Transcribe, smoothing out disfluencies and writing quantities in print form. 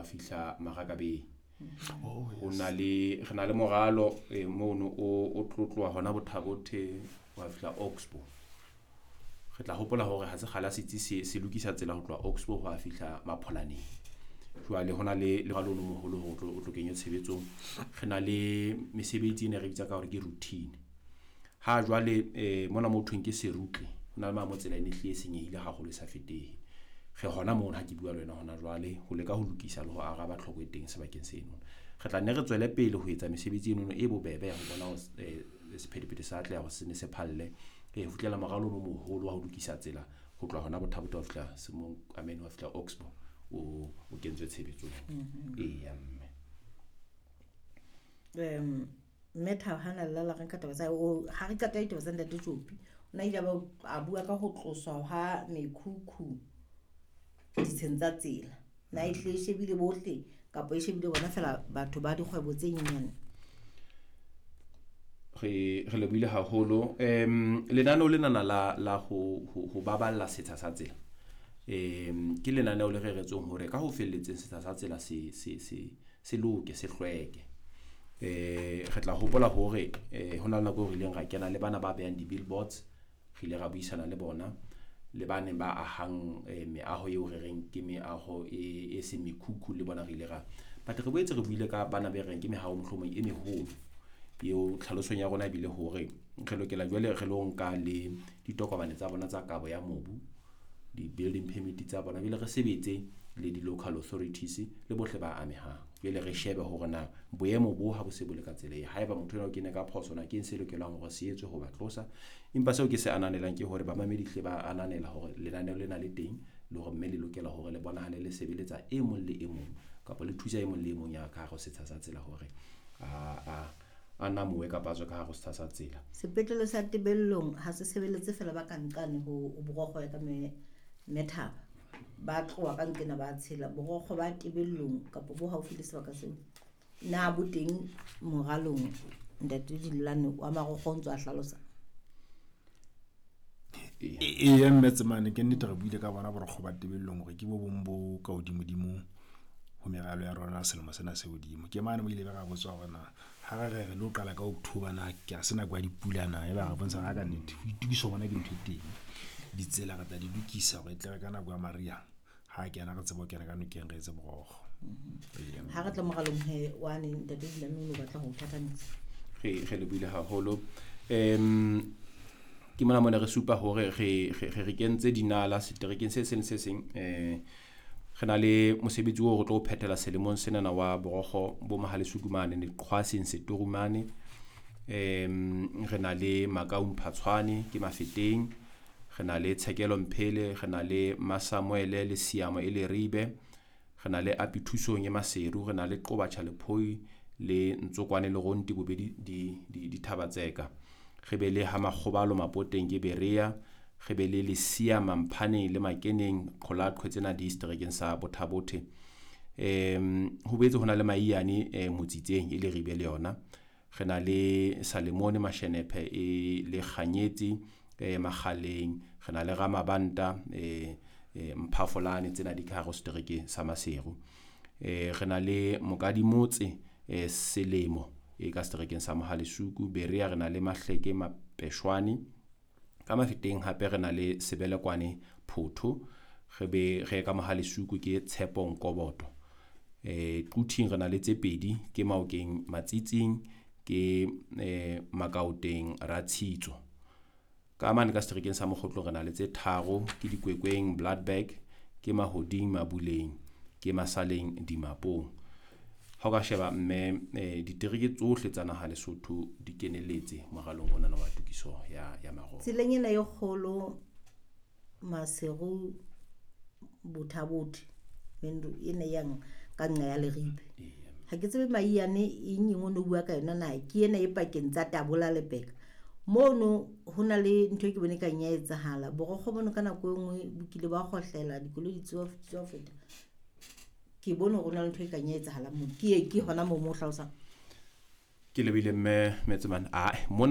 wa fihla Marakabeng. Oh, Ho na le re na le moralo mono o tlo tloha hona Bothabothe wa fihla Oxbow. Re tla hopola hore ha se kgale ha setsi se lokisa tsela ho tloha Oxbow ho a fihla Mapholaneng. Jwale ho na le moralo o moholo hore o tlo kenywe tshebetsong. Re na le mesebetsi e ne re bitsa ka hore ke routine. Ha jwale mona mo thweng ke Serutle, ho na le mo tsela e ne hlile e senyehile haholo e sa fetehe. Re hona mono ha ke bua le wena hona jwale ho leka ho lokisa le ho araba tlhoko e teng sebakeng seno. Re tla nne re tswele pele ho etsa mesebetsi enono e bobebe ya ho bona hore sephethephethe sa atleha hore se ne se phalle. Ho fihlela moralo o moholo wa ho lokisa tsela ho tloha hona Bothabothe wa fihla Semong, I mean wa fihla Oxbow o kentswe tshebetsong. Eya mme. Mme Thabo hana lla re nka taba tsa o ha re qeta ditaba tsa Ntate Tjopi. O na ile a bua ka ho tloswa ha mekhukhu ditsheng tsa tsela. Na e hle e shebile bohle kapa e shebile bona fela batho ba dikgwebo tse nyenyane? Re lebohile haholo. Lenaneo lenana la ho baballa setsha sa tsela. Ke lenaneo le reretsweng hore ka ho felletseng setsha sa tsela se loke, se hlweke. Re tla hopola hore ho na le nako eo re ileng ra kena le bana ba behang di-billboards, re ile ra buisana le bona le ba neng ba ahang meaho eo re reng ke meaho e seng mekhukhu, le bona re ile ra but re boetse re buile ka bana be reng ke mehaho mohlomong e meholo eo tlhalosong ya rona ebile hore re lokela jwale re lo nka le ditokomane tsa bona tsa kabo ya mobu, di-building permit tsa bona, jwale re sebetse le di-local authorities le bohle ba amehang. Jwale re shebe hore na boemo bo ha bo se bo le ka tsela e, haeba motho enwa o kene ka phoso na ke eng se lokelang hore se etswe ho ba tlosa. Empa seo ke se ananelang ke hore bamamedi hle ba ananela hore lenaneo lena le teng le hore mme le lokela hore le bonahale le sebeletsa e mong le e mong kapa le thusa e mong le e mong ya ka hare ho setsha sa tsela hore a namowe kapa a tswe ka hare ho setsha sa tsela. Sepetlele sa Tebellong ha se sebeletse fela ba ka nqane ho borokgo ya ka Methaba. Ba tloha ka nqena ba tshela borokgo ba Tebellong kapa bo haufi le sebaka seo. Na bo teng moralong Ntate Dillane wa marokgo o ntse a hlalosa? Eya mme Tsemane, ke nnete re buile ka bona borokgo ba Tebellong hore ke bo bong bo ka hodimodimo ho meralo ya rona selemo sena se hodimo. Ke mane mo ile ba ra botswa hore na ha re re lo qala ka October na ke a se nako ya dipula na, e ba re bontsha ka nnete ho itokiso bona ke ntho e teng. Ditsela re tla di lokisa hore e tle re ka nako ya mariha ha kena re tsebe ho kena ka nokeng re etse borokgo. Ha re tla moralong he wa ne Ntate Dillane o batla ho thathamisa. Re lebohile haholo. Ke mona mona re supa hore re kentse dinala seterekeng se seng se seng. Re na le mosebetsi oo re tlo phethela selemong senana wa borokgo bo Mohalesuku mane Leqhwaseng Setorumane. Re na le Makaung Phatshwane ke Mafeteng, re na le Tshekelo Mphele, re na le Masamuele le Siamo e Leribe, re na le Apithusong e Maseru, re na le Qobatjha Lephoi le Ntsokwane le Ronti bobedi di Thabatseka. Re be le ha Makgobalo Mapoteng ke Berea, re be le Lesia Mamphaneng le Makeneng Qholaqhwe tsena di seterekeng sa Bothabothe. Ho boetse ho na le Maiyane Motsitseng e Leribe le yona. Re na le Salemone Mashenephe e le Kganyetsi Makgaleng, re na le Ramabanta Mphafolane tsena di ka hare ho setereke sa Maseru. Re na le Mokadimotse Selemo e ka seterekeng sa Mohalesuku. Berea re na le Mahleke Mapeshwane. Ka Mafeteng hape re na le Sebelekwane Photho, re be re ka Mohalesuku ke Tshepo Nkoboto. Quthing re na le tse pedi, ke Maokeng Matsitsing, ke Makaoteng Ratshitso. Ka mane ka seterekeng sa Mokgotlong re na le tse tharo, ke Dikwekweng Bloodberg, ke Mahoding Mabuleng, ke Masaleng Dimapong. Ha o ka sheba mme ditereke tsohle tsa naha Lesotho di keneletse moralong ona wa tokiso ya marokgo. Tseleng ena e kgolo Maseru Bothabothe mendo ena yang ka nqa ya Leribe. Ha ke tsebe Maiyane eng eng o no bua ka yona na ke ena e pakeng tsa Tabola le Beka. Mono ho na le ntho e ke bone ka nya etsahala. Borokgo bono ka nako e nngwe bo kile ba kgohlela dikoloi di tswa feta. Ke bone hore ho na le ntho e ka nya etsahala moo. Ke hona moo mo hlalosang. Ke lebile mme Metsemane. Mona